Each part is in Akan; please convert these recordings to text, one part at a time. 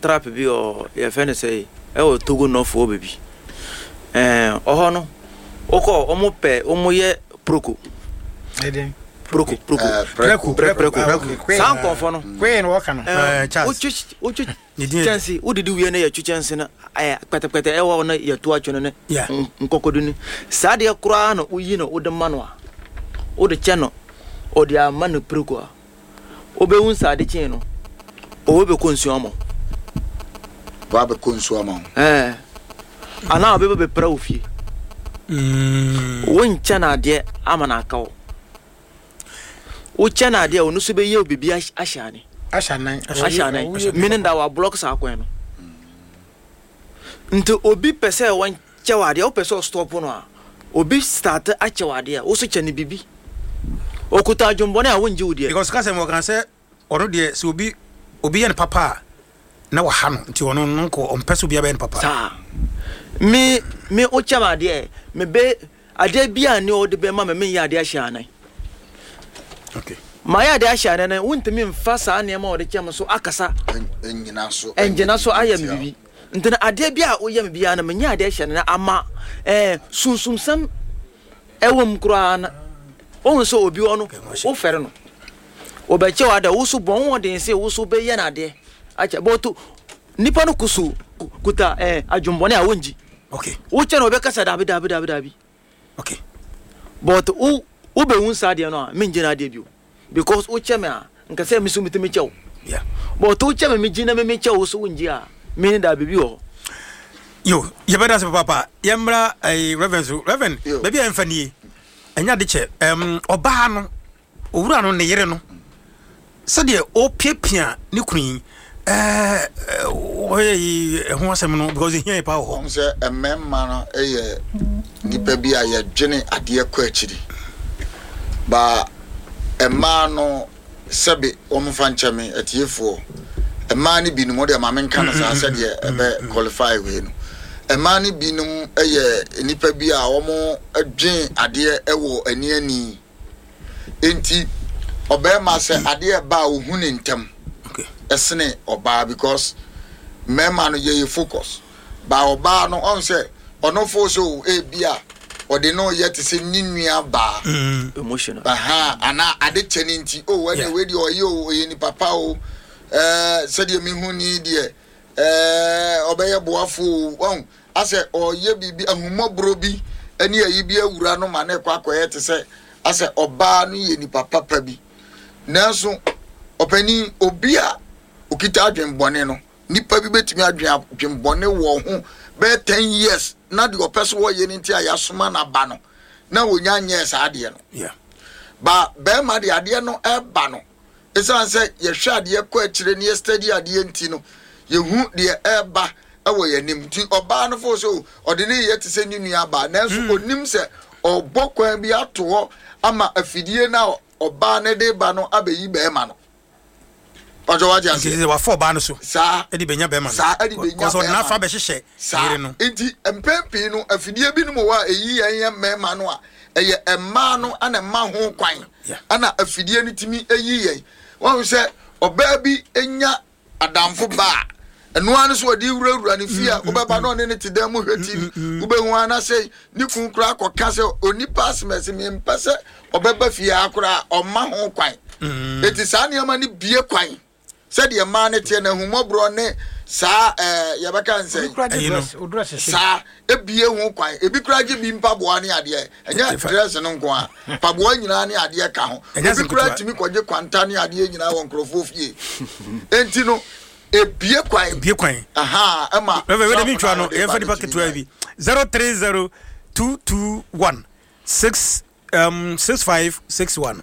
Trap bi wɔ yɛfrɛ no sɛ ɛwɔ Togo North hɔ baabi. Ɛɛ ɔhɔ no wokɔ wɔn pɛ wɔn yɛ proko. Ɛdɛn? Proko proko. Eh, prɛko. Prɛko Ah, prɛko. okay. Saa nkurɔfoɔ no. Kwee na wɔka no. Ɛɛ Eh, Charles. wotwi wotwi Ne din yɛ- kyɛnse wodidi wie no yɛtwi kyɛnse no ɛɛ kpɛtɛkpɛtɛ ɛwɔ hɔ no yɛto atwene ne Yeah. nkɔkɔdu no. Saa deɛ koraa na woyi no wode ma no a wode kyɛ no ɔde ama no preko a. Wobɛhu sɛ ade kyee no, ɔwɔ bɛkɔ nsuo ama wo. Wabɛkɔ nsuo ama wo. Ɛɛ. Anaa ɔbɛba bɛpra wo fie. Wonkyɛ no adeɛ ama no aka wo. Wokyɛ no adeɛ a, ɔno nso bɛyɛ wo biribi ahyɛ ane. Ahyɛ anan. Ahyɛ anan. Meaning that wablɔk saa kwan no. Nti obi pɛ sɛ wɔnkyɛ wo adeɛ, wopɛ sɛ ɔstɔpo no a, obi start akyɛ wo adeɛ a, wo so kyɛ no biribi. Okuta adwembɔne a wongye wo deɛ. Because kasɛ mu ɔka sɛ ɔno deɛ sɛ obi obi yɛ no papa a na waha no nti ɔno no nkɔ ɔmpɛ sɛ obi abɛyɛ no papa. Saa. Me me wokyɛ me adeɛ me bɛ adeɛ bi a ne ɔde bɛma me menyɛ adeɛ ahyɛ anan. Okay. Mayɛ adeɛ ahyɛ anan no wontumi mfa saa nneɛma a ɔde kyɛ me so akasa. Ɛngyina so. Ɛngyina so ayɛ me biribi. Nti no adeɛ bi a woyɛ me biara no menyɛ adeɛ ahyɛ anan ama ɛɛ sunsumsɛm ɛwɔ mu koraa na wohu sɛ obi wɔ no wofɛre no wɔbɛkyɛ wo adeɛ wo so bɔ wo den sɛ wo so bɛyɛ no adeɛ akyɛ bɔto nipa no kusu kuta ɛɛ adwumbɔne a wongyi okay wokyɛ no wɔbɛka sɛ dabi dabi dabi dabi okay but wo wobɛhu saa adeɛ no a mengye no adeɛ bio because wokyɛ me a nka sɛ me so metumi kyɛ wo yeah but wokyɛ me megye na me mekyɛ wo so wongye a me ne da biribi wɔ hɔ. Yo, yɛbɛda ase papaapa. Yɛmmra ɛyi Reverend so. Reverend, baabi a yɛmfa nie, ɛnyɛ ade kyɛ. Ɛm, ɔbaa no, owura no, ne yere no, sɛdeɛ ɔrepiapia ne kunu yi, ɛɛ, ɔyɛ yi ɛho asɛm no because ehia yɛ paa wɔ hɔ. Wɔn sɛ mmarima no yɛ nnipa bi a yɛdwene adeɛ kɔ akyiri. Ba mmaa no Sɛbe wɔmfa nkyɛ me atiefoɔ, mmaa no binom, wodeɛ ma menka no saa sɛdeɛ ɛbɛ qualify wei no, mmaa no binom yɛ nnipa bi a wɔdwen adeɛ wɔ ani ani. Enti ɔbarima sɛ adeɛ ɛba a ɔhu ne ntɛm ɛsene ɔbaa because mmarima no yɛyɛ focus. Ba ɔbaa no ɔn sɛ ɔno fo sɛ o ebi a ɔde no yɛ te sɛ ne nua baa. Emotional. Aha anaa ade kyɛ ne nti o ɛne wei deɛ ɔyɛ o ɔyɛ nipa pa o ɛɛ sɛdeɛ mehu ni deɛ ɛɛ ɔbɛyɛ boafo o ɔn asɛ ɔyɛ biribi ahummɔborɔ bi ɛne ayi bi awura no ma ne kɔ akɔyɛ te sɛ asɛ ɔbaa no yɛ nipa papa bi nanso ɔpanin obi a okita adwenbɔne no Nipa bi bɛtumi adwen adwenbɔne wɔ ho bɛyɛ 10 years na deɛ ɔpɛ so wɔyɛ no nti a yɛasoma no aba no na wɔnya nyɛɛ saa adeɛ no. Yeah. Ba bɛrima deɛ adeɛ no ɛba no ɛsiane sɛ yɛhwɛ adeɛ kɔ akyire ne yɛstudy adeɛ nti no yɛhu deɛ ɛba ɛwɔ yɛn anim nti ɔbaa no fo sɛ ɔde ne yɛ te sɛ ne nua baa nanso ɔnim sɛ ɔbɔ kwan bi ato hɔ ama afidie no a ɔbaa no de ba no abɛyi bɛrima no. Pàtó wate Nti aseɛ. sɛ wafa ɔbaa no so Saa. ɛde bɛnya bɛrima no. Saa ɛde bɛnya Kɔsɛ ɔde bɛrima n'afa no. bɛhyehyɛ Saa. yere no. Nti mpɛn pii no afidie binom wɔ hɔ a ɛyi yɛn yɛn mmarima no a ɛyɛ mmaa no na ɛma ho kwan Yeah. ɛna afidie no tumi yi yɛn. Wɔn sɛ ɔbaa bi nya adamfo ba a ɛno ara no so ɔde wurawura ne fie a wobɛba na ɔne ne te dan mu hwɛ TV wobɛhu ara na sɛ ne kun koraa kɔka sɛ onipa asɛmɛsɛ mempɛ sɛ ɔbɛba fie ha koraa ɔmma ho kwan eti saa nneɛma no bie kwan sɛdeɛ mmaa no teɛ na ahummɔborɔ ne saa ɛɛ yɛbɛka nsɛn Ɛyi no. saa ebie ho kwan ebi koraa gye bi mpaboa ne adeɛ ɛnyɛ dress no nko a mpaboa nyinaa ne adeɛ ka ho Ɛnyɛ obi asɛm koraa ketewa. tumi kɔgye kwanta ne adeɛ nyinaa wɔ nkurɔfoɔ fie enti no ebie kwan Ebie kwan. aha ɛma Reverend, wei de mi trap ntwa no no, a wɔde yɛmfa ba nipa no tumi ketewa nyae. bi. 030 221 6 6561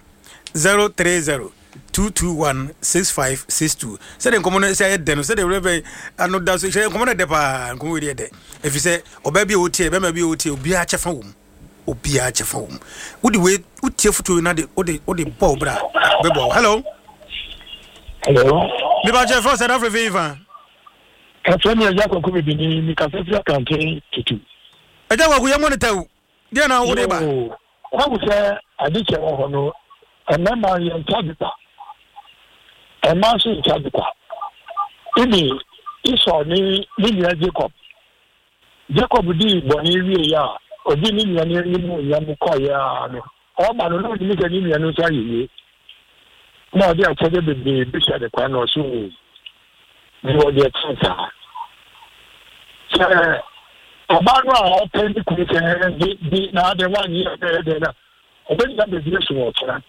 030 221 6562 sɛdeɛ nkɔmmɔ no sɛ ayɛ dɛ no sɛdeɛ Reverend ano da so hyɛ nkɔmmɔ no dɛ paa nkɔmmɔ wei deɛ dɛ ɛfiri sɛ ɔbaa bi a ɔtie bɛrima bi a ɔtie obiara kyɛfa wɔ mu obiara kyɛfa wɔ mu wode wei wotie fotuo wei na de wode wode bɔ wo bra bɛboa wo hello Hello. mepa kyɛ frɛ sɛ da frɛ fei fa Ɛfrɛ me Agya Kwaku Bibini, mekasa firi Akrante Tutu. Agya Kwaku yɛ monitor wo deɛ na wode ba. Yoo, wahu sɛ ade kyɛ wɔ hɔ no, mmarima yɛnkyɛ ade kwa, mmaa nso nkyɛ ade kwa. Even Esau ne ne nua Jacob. Jacob dii bɔne wieeɛ a, ɔgye ne nua no animuonyam kɔeɛ ara no, ɔreba no, na ɔnim sɛ ne nua no nso ayɛ yie. Na ɔde akyɛdeɛ bebree bɛhyia ne kwan na ɔse, Oo, mewɔ deɛ ɛkyɛn saa. Sɛ ɔbaa no a ɔpɛ ne kunu sɛ gye di na adɛn woanyɛ ɛdɛn ɛdɛn na ɔbɛnya baabi asu wɔ ɔkyena.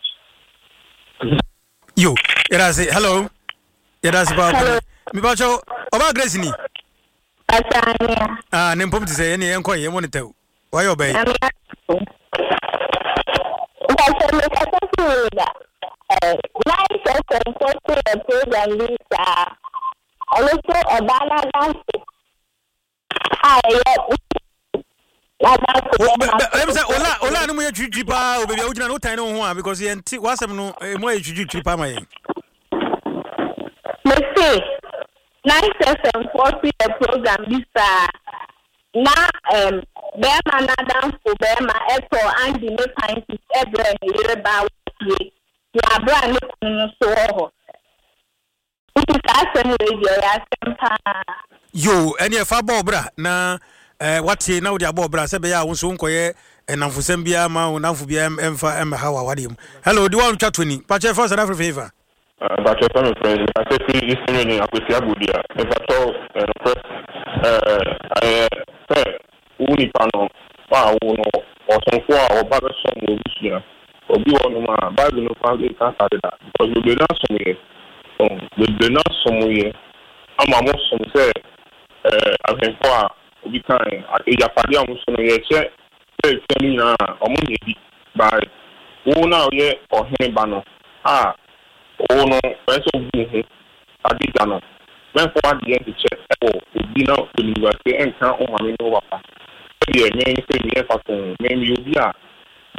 Yo, yɛda ase. Hello. Yɛda ase paa. Hello. Mepakyɛw, ɔbaa Grace ni. Pasania. Ah, ne mpom te sɛ yɛne yɛnkɔ yɛ mo ne tɛw. Wayɛ ɔbaa yi. Mpakyɛ mekasa fi Winneba. Nine FM fo so yɛ program bi saa. Ɔno so ɔbaa n'adamfo a ɛyɛ n'adamfo bɛma. Ɛm sɛ ola ola no mu yɛ twitwi paa o baabi a wogyina no wotan ne wo ho a because yɛn ti w'asɛm no emu ayɛ twitwi paa ma yɛn. Mese Nice FM foɔ so yɛ program bi saa na ɛm bɛɛma n'adamfo bɛɛma ɛtɔɔ Andy ne panties ɛbrɛɛ ne yere baa wɔ fie wɔ aberɛ a ne kunu no so wɔ hɔ. Nti saa asɛm wei deɛ ɛyɛ asɛm paa. Yoo ɛneɛ fa bɔ ɔbra na eh, watie na wode abɔ ɔbra sɛ ɛbɛyɛ a wo nso wonkɔyɛ nnamfosɛm biara ma wo nnamfo biara ɛmfa ɛmmɛha w'awadeɛ mu. Hello, di wa ntwa to ni. Pakyɛ ɛfa South Africa hefa? Mpakyɛw sɛ me frɛ mekasa firi Eastern Region Akwasi Agodua mepakyɛw nokorɛ ɛyɛ sɛ wo nipa no a wo no ɔsomfoɔ a ɔba bɛsom wɔ abusua obi wɔ nom a bible no koraa nka saa deda because bebree no asom yɛ bebree no asom yɛ ama mo som sɛ ahwɛnfoɔ a obi kae agyapadeɛ a wɔn so no yɛkyɛ sɛ atua no nyinaa a wɔn nyɛ bi by wo no a woyɛ ɔhene ba no a wo no ɛsɛ sɛ wobu wo ho adagya no mɛmfa w'adeɛ nkyekyɛ wɔ obi na w'animguaseɛ nka wo maame ne wo papa sɛdeɛ me no sɛ meyɛ mfatoho me meyɛ obi a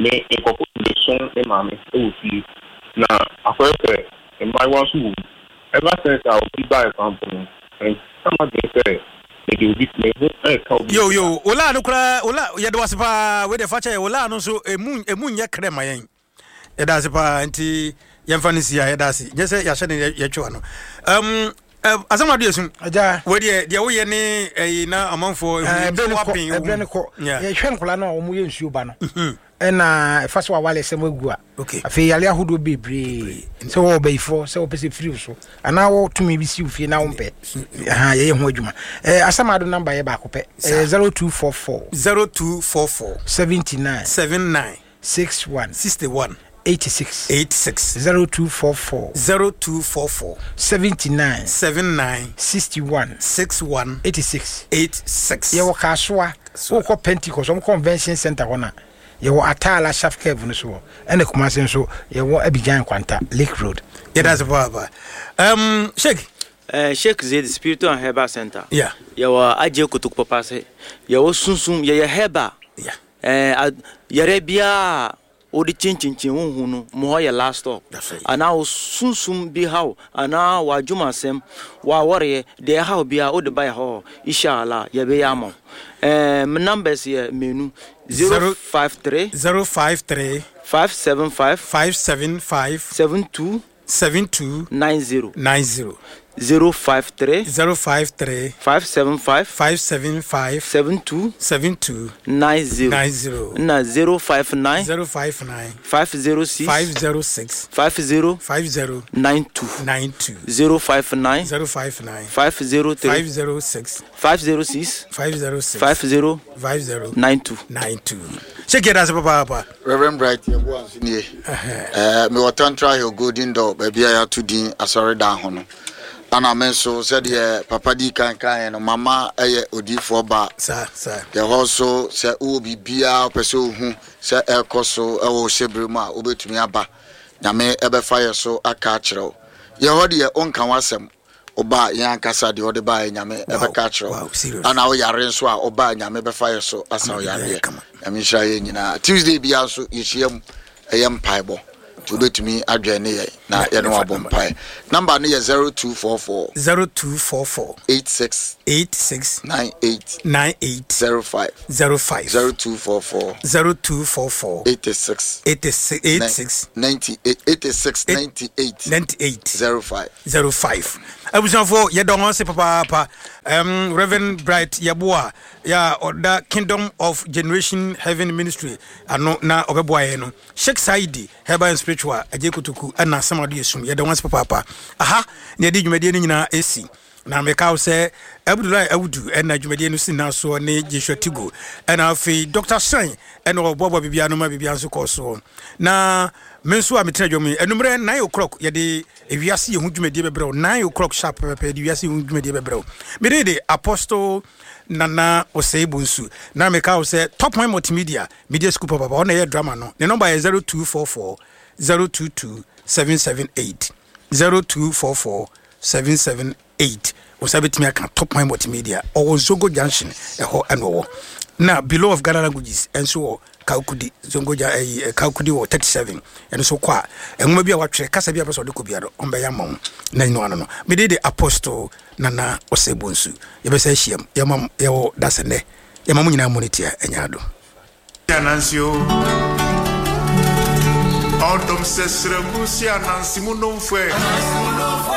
me nkurɔfoɔ bebree som me maame wɔ fie na akɔyɛ sɛ mmaayewa nso wɔ mu ever since a obi baeɛ koraa mpo no ɛnka m'adwene sɛ mede obi me ho reka obi Yo yo, olaa no koraa olaa yɛde wase paa wei deɛ fa kyɛ yɛ olaa no nso emu emu nyɛ krɛ ma yɛn yɛda ase paa nti yɛmfa no si a yɛda ase nyɛ sɛ yɛahyɛ ne yɛtwe ano um, asɛm ado yɛsum wei deɛ deɛ woyɛ ne ɛyi na amanfoɔ ɛberɛ no kɔ yɛhwɛ nkwadaa no a wɔyɛ nsuo ba no mhm. ɛna ɛfa so awale sɛm agu a afei yare ahodoɔ bebree sɛ wɔwɔ bayifoɔ sɛ wɔpɛ sɛ firi so anaa wɔtumi bi si wo fie na wompɛ yɛyɛ ho adwuma asɛm ado namba yɛ baako pɛ 0244 0244 79 79 61 61 86 86 0244 0244 79 79 61 61 86 86. Yɛwɔ Kasoa, wokɔ Pentecost, wɔn convention center hɔ na yɛwɔ Ataala Shaft Curve no so hɔ, ɛna Kumasi nso yɛwɔ Abidjan Kwanta Lake Road. Yɛda ase papaapa. Sheikh. Sheikh Zaid Spiritual and Herbal Center. Yeah. Yɛwɔ Agye Kotoku Papa ase. Yɛwɔ sunsum, yɛyɛ herbal. Yeah. Ɛɛ yɛrɛ biara a wode kyenkyenkyen wo ho no, mo hɔ yɛ last stop. Anaa wo sunsum bi haw, anaa w'adwumasɛm, w'awareɛ, deɛ ɛhaw biara wode ba yɛ hɔ, Isha Allah, yɛbɛyɛ ama wo. Ɛɛ me numbers yɛ mmienu, 053. 053. 575. 575. 72. 72. 90. 90. 053. 053. 575. 575. 72. 72. 90. 90. Ɛna 059. 059. 506. 506. 50. 50. 92. 92. 059. 059. 503. 506. 506. 506. 50. 50. 92. 92. Sheikh yɛda ase papaapa. Reverend Bright Yeboah nso nie. Eh, mewɔ Tantra Hill Golden Door baabi a yɛato din asɔredan ho no. Ana me nso sɛdeɛ papa dii kan kaeɛ no, mama ɛyɛ odiyifoɔ ba. Saa, saa. Yɛhɔ nso sɛ wowɔ biribiara wopɛ sɛ wohu sɛ ɛrekɔ so wɔ wo hyɛberɛ mu a, wobɛtumi aba. Nyame ɛbɛfa yɛ so aka akyerɛ wo. Yɛhɔ deɛ wonka w'asɛm. Woba a yɛn ankasa deɛ wode baeɛ Nyame ɛbɛka akyerɛ wo. Ana woyare nso a woba a Nyame bɛfa yɛ so asa wo yareɛ. Nyame nhyira yɛn nyinaa. Tuesday biara nso yɛhyia mu ɛyɛ mpaebɔ. Nti wobɛtumi adwɛn ne yɛn na yɛne wabɔ mpae. Number no yɛ 0244. 0244. 86. 86. 98. 98. 05. 05. 0244. 0244. 86. 86. 86. 98. 86. 98. 98. 05. 05. Abusuafoɔ, yɛda wɔn ase papaapa. Um, Reverend Bright Yeboah, yɛ a ɔda Kingdom of Generation Heaven Ministry ano na ɔbɛboa yɛn no. Sheikh Saidi, Herbal and Spiritual, Agye Kotoku, ɛna asɛm ado yɛ sum. Yɛda wɔn ase papaapa. Aha, na yɛde dwumadie no nyinaa esi. Na meka wo sɛ Abdullahi Audu ɛna dwumadie no si nyinaa soɔ ne Joshua Tigo ɛna afei Dr. Shine ɛna ɔboaboa biribiara no ma biribiara nso kɔɔ soɔ. Na me nso a metena dwom yi, anummerɛ 9 o'clock yɛde ewiase yɛ ho dwumadie bɛbrɛ wo. 9 o'clock sharp pɛpɛpɛ yɛde wiase yɛ ho dwumadie bɛbrɛ wo. Mede de Apostle Nana Osei Bonsu. Na meka wo sɛ Top One Multimedia, Media School papapa, ɔna ɛyɛ drama no. Ne nɔmba yɛ 0244 022 778. 0244 778 wo nsa bɛtumi aka Top Point Multimedia ɔwɔ Zongo Junction ɛhɔ ɛna ɔwɔ na Below of Ghana Languages ɛnso wɔ Kaukudi Zongo ja ɛyi eh, Kaukudi wɔ 37 ɛno nso kɔ a nwoma bi a watwerɛ kasa bi a pɛ sɛ ɔde kɔ biara ɔmbɛyɛ ama wo na nyina ano no mede de Apostle Nana Osei Bonsu yɛbɛsɛ ahyiam yɛma yɛwɔ dasɛ nnɛ yɛma mo nyinaa mu ne tia ɛnyɛ ado. Anansi o. Ɔdɔm sɛ srɛmu si anansi mu nomfoɛ.